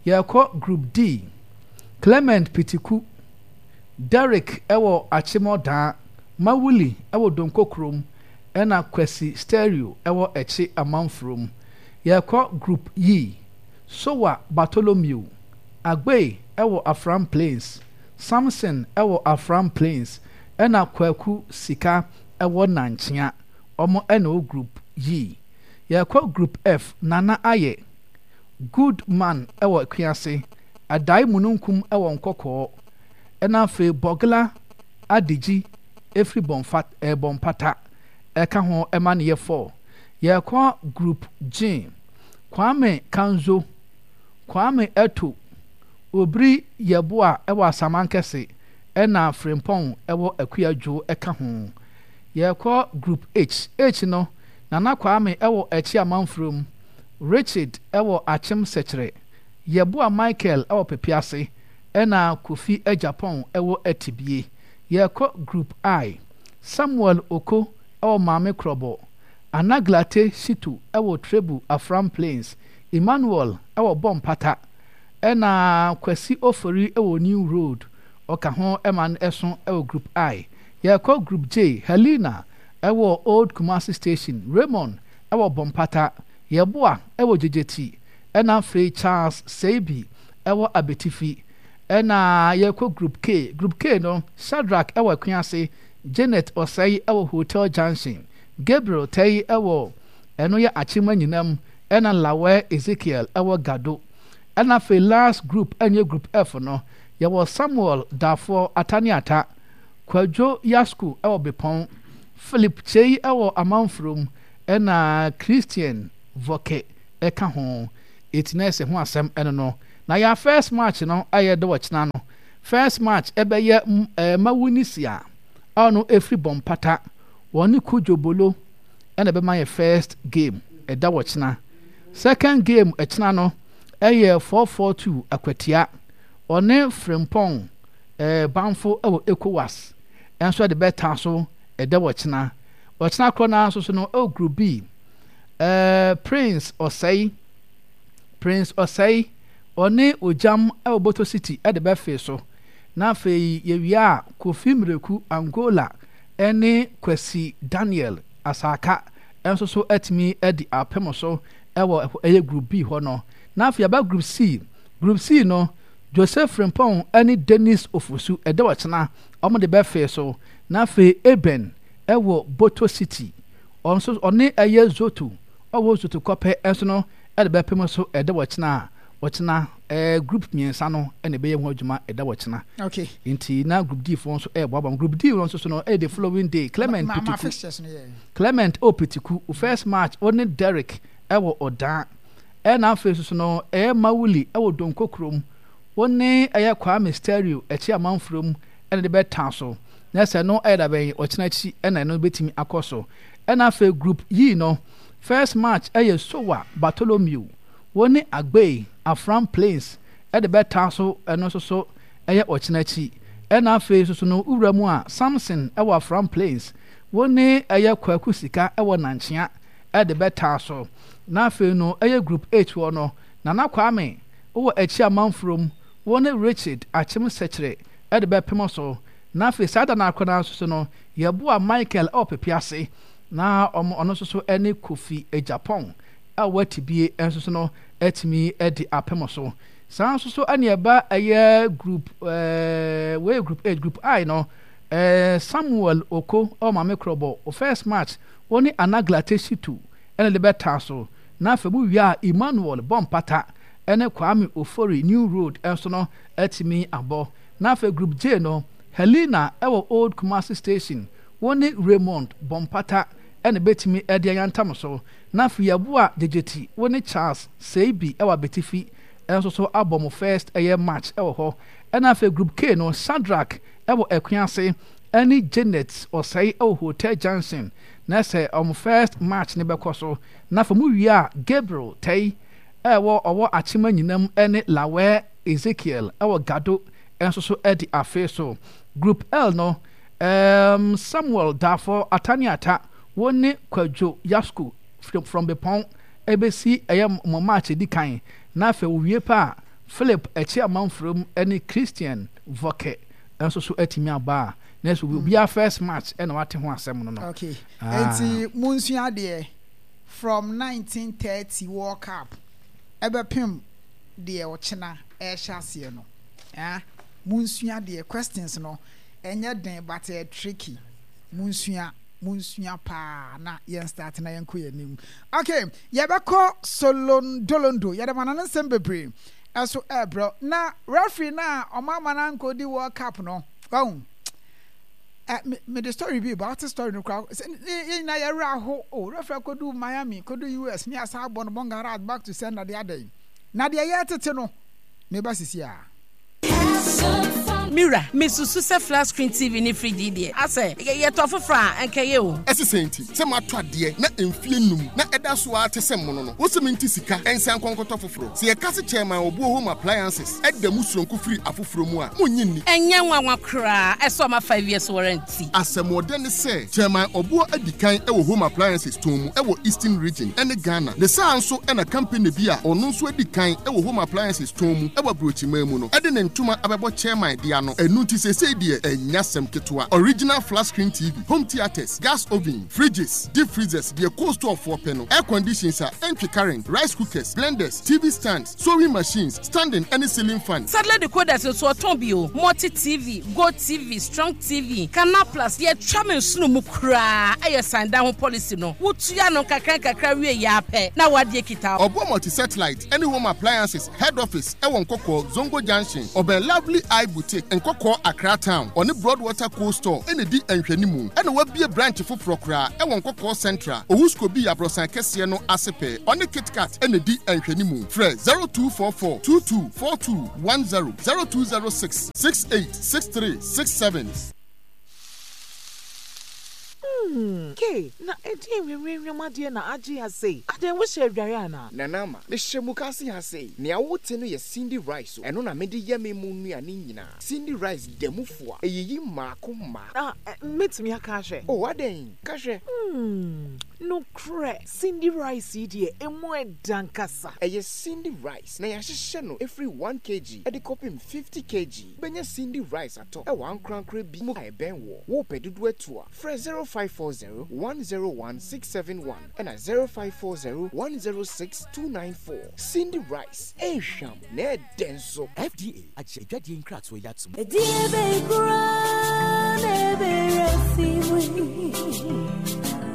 Yɛkɔ Group D, Clement Pitiku, Derrick ɛwɔ Akyemɔdaa, Mawuli ɛwɔ Donko Kurom ɛna Kwasi Stereo ɛwɔ Ɛkye Amanfurom. Yɛkɔ Group E, Sowa Bartholomew, Agbey ɛwɔ Afram Plains, Samson ɛwɔ Afram Plains ɛna Kwaku Sika ɛwɔ Nankyea. Wɔn ɛna ɛwɔ Group E. Yɛkɔ Group F, Nana Ayɛ, Good Man ɛwɔ Akuase, Adae Mununkum ɛwɔ Nkɔkɔɔ, ɛna afei Bɔgla Adegyi ɛfiri Bɔnfa eh, Bɔnpata ɛka ho ɛma no yɛ four. Yɛkɔ Group G, Kwame Kanzo, Kwame Eto, Obiri Yeboah ɛwɔ Asamankɛse ɛna Frimpong ɛwɔ Akuadwo ɛka ho. Yɛkɔ Group H, H no, Nana Kwame ɛwɔ Ɛkye Amanfurom, Richard ɛwɔ Akyem Sɛkyerɛ, Yeboah Michael ɛwɔ Pepease ɛna Kofi Agyapong ɛwɔ Atibie. Yɛkɔ Group I, Samuel Oko ɛwɔ Maame Krɔbɔ, Anaglate Shitu ɛwɔ Trebu Afram Plains, Emmanuel ɛwɔ Bompata ɛna Kwasi Ofori ɛwɔ New Road ɔka ho ɛma no ɛso ɛwɔ Group I. Yɛkɔ Group J, Helena ɛwɔ Old Kumasi Station, Raymond ɛwɔ Bompata, Yeboah ɛwɔ Gyegyeti ɛna afei Charles Seibi ɛwɔ Abetifi. Ɛna yɛkɔ Group K, Group K no, Shadrack ɛwɔ Akuase, Janet Osei ɛwɔ Hotel Junction, Gabriel Tɛyi ɛwɔ ɛno yɛ Akyem Anyinam ɛna Lawɛ Ezekiel ɛwɔ Gado. Ɛna afei last group ɛnyɛ Group F no, yɛwɔ Samuel Dafoɔ Ataniata, Kwadwo Yasku ɛwɔ Bepɔn, Philip Kyei ɛwɔ Amanfurom, ɛna Christian Vɔke ɛka ho. Eti na ɛsɛ ho asɛm ɛno no. Na yɛ first match no a yɛde ɔkyena no, first match ɛbɛyɛ ɛɛ Mawunisia a ɔno efiri Bɔmpata, wɔne Kudjo Bolo ɛna ɛbɛma yɛ first game ɛda wɔkyena. Second game ɛkyena no ɛyɛ four four two Akwatia, ɔne Frimpong ɛɛ Banfo ɛwɔ ECOWAS ɛnso ɛde bɛta so ɛda wɔkyena. Ɔkyena korɔ naa nso so no ɛwɔ Group B, ɛɛ Prince Ɔsɛe Prince Ɔsɛe ɔne Ogyam ɛwɔ Boto City ɛde bɛfe so. Na afei yɛwie a, Kofi Mmireku Angola ɛne Kwasi Daniel Asaka ɛnso so atumi adi apem so ɛwɔ ɛyɛ Group B hɔ no. Na afei aba Group C. Group C no, Joseph Frimpong ɛne Dennis Ofosu ɛda ɔkyena wɔn de bɛfe so. Na afei Eben ɛwɔ Boto City, ɔno nso ɔne ɛyɛ Zoto ɔwɔ Zoto Kɔpɛ ɛnso no ɛde bɛpem so ɛda ɔkyena a ɔkyena ɛɛ group mmiɛnsa no ɛna ɛbɛyɛ ho adwuma ɛda ɔkyena. Okay. Nti na Group D foɔ nso ɛɛboaboa. Group D no nso so no ɛyɛ the following day. Clement Ma, ma Pitiku fixtures no yɛ. Clement O Pitiku first match ɔne Derek ɛwɔ Ɔdan. Ɛna afei nso so no ɛyɛ Mawuli ɛwɔ Donko kurom, wɔne ɛyɛ Kwame Stereo ɛkyi Amanfurom ɛna de bɛta so. Na sɛ no ɛyɛ dabɛn ɔkyena akyi ɛna ɛno bɛtumi akɔ so. Ɛna afei Group E no, first match ɛyɛ Sowa Bartholomew, wɔne Agbey Afram Plains ɛde bɛta so, ɛno nso so ɛyɛ ɔkyena akyi. Ɛna afei nso so no wura mu a, Samson ɛwɔ Afram Plains, wɔne ɛyɛ Kwaku Sika ɛwɔ Nankyea ɛde bɛta so. Na afei no ɛyɛ Group H hɔ no, Nana Kwame wɔ akyi Amanfurom, wɔne Richard Akyem Sɛkyerɛ ɛde bɛpem so. Na afei saa da no akora no nso so no, yɛboa Michael ɛwɔ Pepease, na ɔmo ɔno nso so ɛne Kofi Agyapong a ɛwɔ Atibie nso so no atumi ɛde apem so. Saa nso so ɛne ɛba ɛyɛ group ɛɛ wei Group H. Group I no, ɛɛ Samuel Oko ɛwɔ Maame Korɔbɔ, o first match wɔne Anaglate Shitu ɛna de bɛta so. Na afei mu wie a, Emmanuel Bɔmpata ɛne Kwame Ofori New Road ɛnso no atumi abɔ. Na afei Group J no, Helena ɛwɔ Old Kumasi Station, wɔne Raymond Bɔmpata ɛna bɛtumi ɛde ayantam so. Na afei yɛboa Gyegyeti, wɔne Charles Seibi ɛwɔ Abetifi ɛnso so abɔ mo first ɛyɛ match ɛwɔ hɔ. Ɛna afei Group K no, Shadrack ɛwɔ Akuase ɛne Janet Ɔsɛe ɛwɔ Hotel Junction, na sɛ ɔmo first match ne bɛkɔ so. Na afei mu wie a, Gabriel Tɛi ɛwɔ ɔwɔ Akyema Nyinam ɛne Lawɛ Ezekiel ɛwɔ Gado ɛnso so ɛde afe so. Group L no, um, Samuel Dafo Ataniata wɔne Kwadwo Yasku from Bepɔn ɛbɛsi ɛyɛ mo match edi kan. Na afei wowie pa a, Philip Ɛkyi Amanfurom ɛne Christian Vɔkɛ nso so atumi aba a, na ɛsɛ obiara first match ɛna wate ho asɛm no no. Okay. Ah. Enti munsua adeɛ from nineteen thirty World Cup ɛbɛpem deɛ ɔkyena ɛhyɛ aseɛ no. Ah, munsua adeɛ. Questions no ɛnyɛ den but ɛyɛ tricky. Munsua, munsua paa na yɛn start na yɛnkɔ yɛn anim. Okay, yɛbɛkɔ Solondolondo. Yɛde ma no ne nsɛm bebree ɛso ɛɛbrɛ. Na referee na ɔmo ama no ankɔdi World Cup no, wahu ɛ me me de story bi ba, ɔte story no koraa sɛ yɛn nyinaa yɛwerɛ aho o. Referee akɔdu Miami, kɔdu U S ne asa abɔ no bɔngarat back to sender de adɛn na deɛ yɛtete no meba sisi a. Mira, mesusu sɛ flat screen T V ne fridge yi deɛ, asɛ yɛtɔ foforɔ a ɛnkɛyɛ o. Ɛsi sɛn nti sɛ matɔ adeɛ na mfie num na ɛda so ara te sɛ mmono no, wosi mi nti sika ɛnsa nkɔnkɔtɔ foforɔ? Sɛ yɛka se Chairman Obuo Home Appliances ɛda mu soronko firi afoforɔ mu a, monnye nni. Ɛnyɛ nwanwa koraa ɛsɛ ɔma five years warranty. Asɛmɔdɛ ne sɛ Chairman Obuo adi kan ɛwɔ home appliances tɔn mu ɛwɔ Eastern Region ɛne Ghana. Ne saa nso ɛna company bi a ɔno nso adi kan ɛwɔ home appliances tɔn mu ɛwɔ aburokyiman mu no ɛde ne ntoma abɛbɔ chairman de ano. ano. Ɛno nti seesei deɛ ɛnyɛ asɛm ketewa. Original flat screen T V, home theatres, gas oven, fridges, deep freezers, deɛ cold store foɔ pɛ no, air conditions a ɛntwe current, rice cookers, blenders, T V stands, sewing machines, standing ɛne ceiling fan. Satellite decoders nso ɔtɔn bi o. Multi T V, Go T V, Strong T V, Canal Plus. Yɛtwa me nsono mu koraa ɛyɛ san dan ho policy no. Wotua no nkakra nkakra wie yɛ apɛ na wadeɛ kita. Ɔboɔ Multi Satellite ɛne Home Appliances head office ɛwɔ Nkɔkɔɔ Zongo Junction, ɔbɛn Lovely Eye Boutique, Nkɔkɔɔ Accra Town. Ɔne Broadwater Cold Store ɛna di nhwɛnimu, ɛna wabie branch foforɔ koraa ɛwɔ Nkɔkɔɔ Central, Owusko bi aborɔsan kɛseɛ no ase pɛɛ. Ɔne KitKat ɛna di nhwɛnimu. Frɛ zero two four four two two four two one zero, zero two zero six six eight six three six seven. Hmm, Ke, na ɛdeɛ nwinwinwim adeɛ na agye ha sei? Adɛn, wohyɛ adware anaa? Nana Ama, mehyɛ mukaase ha sei. Nea wote no yɛ Cindy rice o. Ɛno na mede yɛ me mu nnuane nyinaa. Cindy rice da mu fo a ɛyiyi mmaako mmaako. Ah, mɛtumi aka ahwɛ? O, adɛn, ka hwɛ. Hmm, nokorɛ, Cindy rice yi deɛ, emu ɛda nkasa. Ɛyɛ Cindy rice na yɛahyehyɛ no ɛfiri one kilogram ɛde kɔpem fifty kilograms. Wobɛnya Cindy rice atɔ ɛwɔ ankorankora bi mu a ɛbɛn wɔ. Wopɛ dodoɔ atu a, frɛ zero five four zero one zero one six seven one ɛna zero five four zero one zero six two nine four. Cindy rice, ɛnhwam na ɛdɛ nso. F D A agye adwadeɛ nkratoɔ yi atom. Ɛdeɛ bɛn koraa na ɛbɛyɛ fi mu yi?